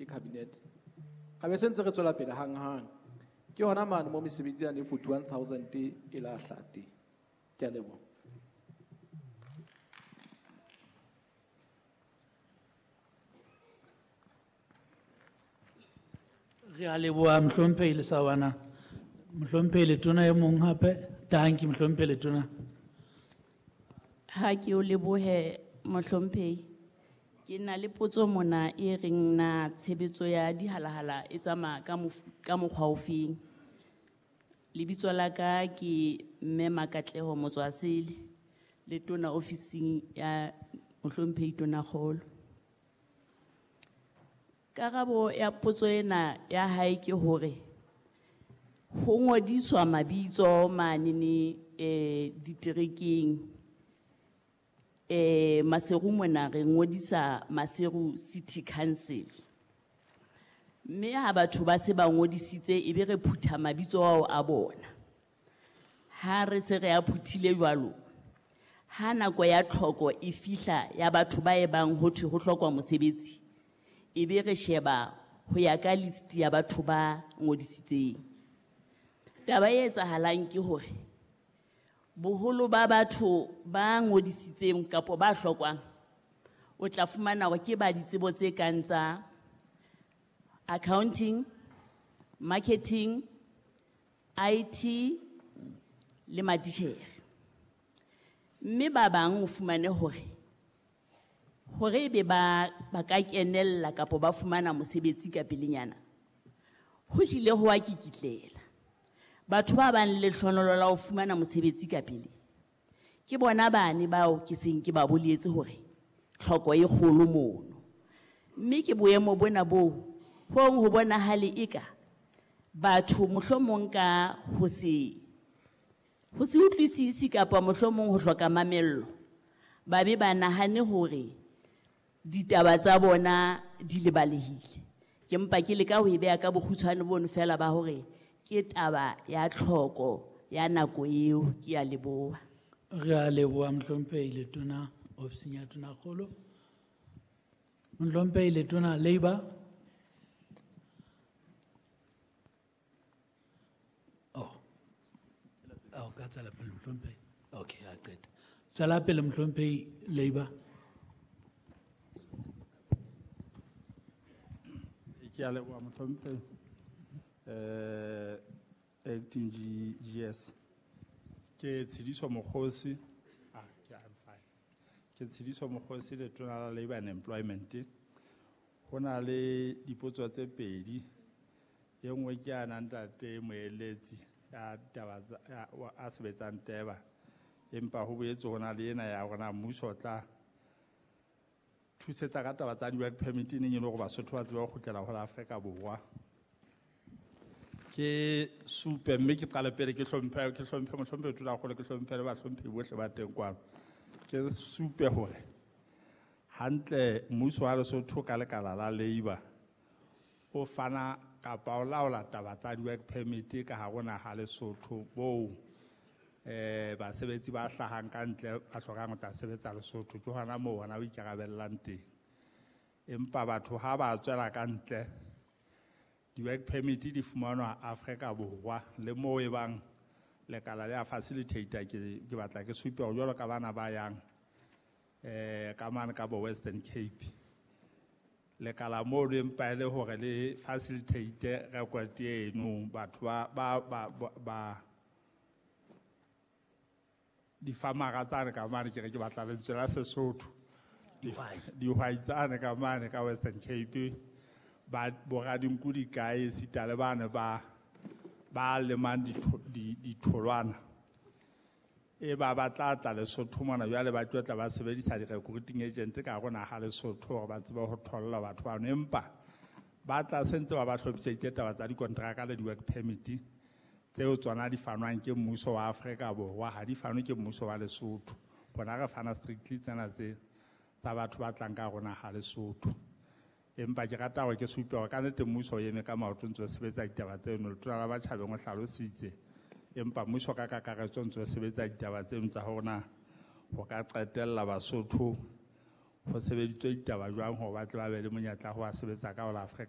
ke cabinet. Ra be se ntse re tswela pele hang-hang. Ke hona mane mo mesebetsi yane 41,000 e la hlaha teng. Ke a leboha. Re a leboha Mohlomphehi Lesawana. Mohlomphehi Letona e mong hape. Tanki Mohlomphehi Letona. Ha ke o lebohe Mohlomphehi. Ke na le potso mona e reng na tshebetso ya dihalahala e tsamaya ka mokgwa ofeng. Lebitso la ka ke Mme Makatleho Motswasele, le tona ofising ya Mohlomphehi Tonakgolo. Karabo ya potso ena ya hae ke hore ho ngodiswa mabitso manene diterekeng. Maseru mona re ngodisa Maseru City Council. Mme ha batho ba se ba ngodisitse e be re phutha mabitso ao a bona. Ha re se re a phuthile jwalo, ha nako ya tlhoko e fihla ya batho ba e bang ho thwe ho hlokwa mosebetsi, e be re sheba ho ya ka list ya batho ba ngodisitseng. Taba e etsahalang ke hore boholo ba batho ba ngodisitseng kapa ba hlokwang, o tla fumana hore ke ba ditsebo tse kang tsa accounting, marketing, IT le matitjhere. Mme ba bang o fumane hore ebe ba ka kenella kapa ba fumana mosebetsi ka pelenyana, ho hlile ho a kikitlela. Batho ba bang le lehlohonolo la ho fumana mosebetsi ka pele, ke bona bane bao ke seng ke ba boletse hore tlhoko e kgolo mono. Mme ke boemo bona boo hong ho bonahale eka batho mohlomong ka ho se utlwisisi kapa mohlomong ho hloka mamello, ba be ba nahane hore ditaba tsa bona di lebalehile. Ke mpa ke leka ho e beha ka bokgutshwane bono fela ba hore ke taba ya tlhoko ya nako eo. Ke a leboha. Re a leboha Mohlomphehi Letona ofising ya Tonakgolo. Mohlomphehi Letona Labour. Oh. Oh, ka tswela pele Mohlomphehi. Okay, a qeta. Tswela pele Mohlomphehi Labour. Ke a leboha Mohlomphehi. Acting GS. Ke Tshidiso Mokgosi. Ah, ke I'm fine. Ke Tshidiso Mokgosi Letona la Labour and Employment. Ho na le dipotso tse pedi. E nngwe ke ya ntate Moeletsi ya taba tsa, ya, wa, a sebetsang Teba. Empa ho boetse ho na le ena ya rona mmuso o tla thusetsa ka taba tsa di-work permit e neng e le hore Basotho ba tsebe ho kgutlela ho la Afrika Borwa. Ke supe mme ke qale pele ke hlomphe, ke hlomphe mohlomphe Tonakgolo, ke hlomphe le bahlomphehi bohle ba teng kwano. Ke supe hore hantle mmuso wa Lesotho ka lekala la Labour o fana kapa o laola taba tsa di-work permit ka hare ho naha Lesotho boo basebetsi ba hlahang ka ntle ba hlokang ho tla sebetsa Lesotho, ke hona moo hona o ikarabellang teng. Empa batho ha ba tswela ka ntle, di-work permit di fumanwa Afrika Borwa le moo e bang lekala le a facilitator. Ke batla ke supe hore jwalo ka bana ba yang ka mane ka bo Western Cape, lekala moo le empa e le hore le facilitate record eno, batho ba difamara tsane ka mane, ke re ke batla lentswe la Sesotho. Dihwai tsane ka mane ka Western Cape, ba boradinku di kae, esita le bane ba lemang ditholwana. E ba tla tla Lesotho mona, jwale ba tlo tla ba sebedisa di-recruiting agent ka hare ho naha Lesotho hore ba tsebe ho tholla batho bano. Empa ba tla se ntse ba ba hlophiseditse taba tsa dikonteraka le di-work permit tseo tsona di fanwang ke mmuso wa Afrika Borwa, ha di fanwe ke mmuso wa Lesotho. Rona re fana strictly tsena tse tsa batho ba tlang ka rona ha Lesotho. Empa ke rata hore ke supe hore ka nnete mmuso o eme ka maoto ntse o sebetsa ditaba tseno. Letona la Matjhabeng o hlalositse, empa mmuso ka kakaretso ntse o sebetsa ditaba tseno tsa hore na ho ka qetella Basotho ho sebeditswe ditaba jwang hore ba tle ba be le monyetla ho ba sebetsa ka ho la Afrika